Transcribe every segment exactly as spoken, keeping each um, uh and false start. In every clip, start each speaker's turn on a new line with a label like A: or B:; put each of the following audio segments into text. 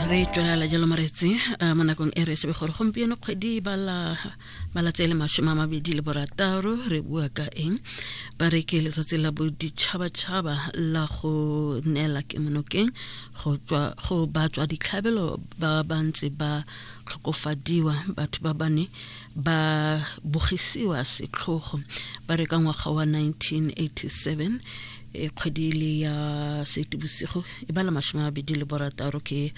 A: Re tswelela jalo moretsi mo nakong e re shebe gore gompieno kgwedi bala malatsi a le masome a mabedi le borataro re bua ka eng. Ba re ke letsatsi la boditšhabatšhaba la go neela kemonokeng go tswa go batswa ditlhabelo ba ba ntse ba tlhokofadiwa, batho ba bane ba bogisiwa setlhogo. Ba re ka ngwaga wa nineteen eighty-seven e kgwedi le ya Seetebosigo e bala masome a mabedi le borataro ke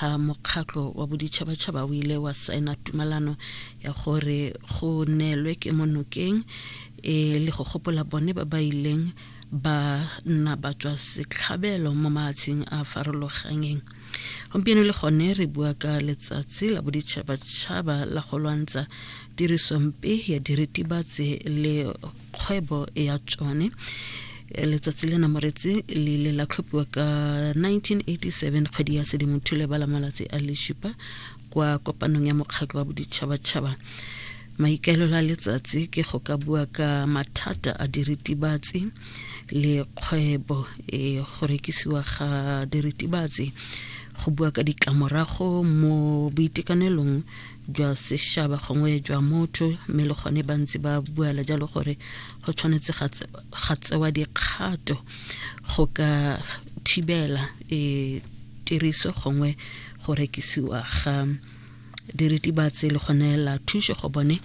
A: ha mokgatlho wa boditšhabatšhaba o ile wa saena tumalano ya gore go neelwe kemonokeng e le go gopola bone ba ba ileng ba nna ba tswa setlhabelo mo maatsheng a farologaneng. Gompieno le gone re bua ka letsatsi la boditšhabatšhaba la go lwantsha tirisompe ya diritibatsi le kgwebo ya tsone. Letsatsi lena moretsi le ile la tlhophiwa ka nineteen eighty-seven kgwedi ya Sedimonthole ba la malatsi a le supa kwa kopanong ya mokgatlho wa boditšhabatšhaba. Maikaelelo a letsatsi ke go ka bua ka mathata a diritibatsi le kgwebo e go rekisiwa ga diritibatsi, go bua ka ditlamorago mo boitekanelong jwa sešaba gongwe jwa motho, mme le gone ba ntse ba buela jalo gore go tshwanetse ga tsewa dikgato go ka thibela e tiriso gongwe go rekisiwa ga diritibatsi le go neela thuso go bone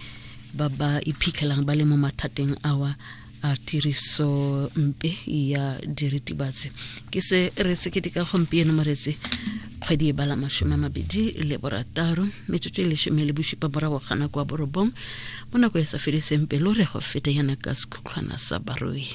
A: ba ba iphitlhelang ba le mo mathateng awa a tiriso mpe ya diritibatsi. Ke se re se keteka gompieno moretsi kgwedi e bala masome a mabedi le borataro metsotso e lesome le bosupa morago ga nako ya borobong mo nako e sa fediseng pelo re go feta yana ka sekhutlhwana sa barui.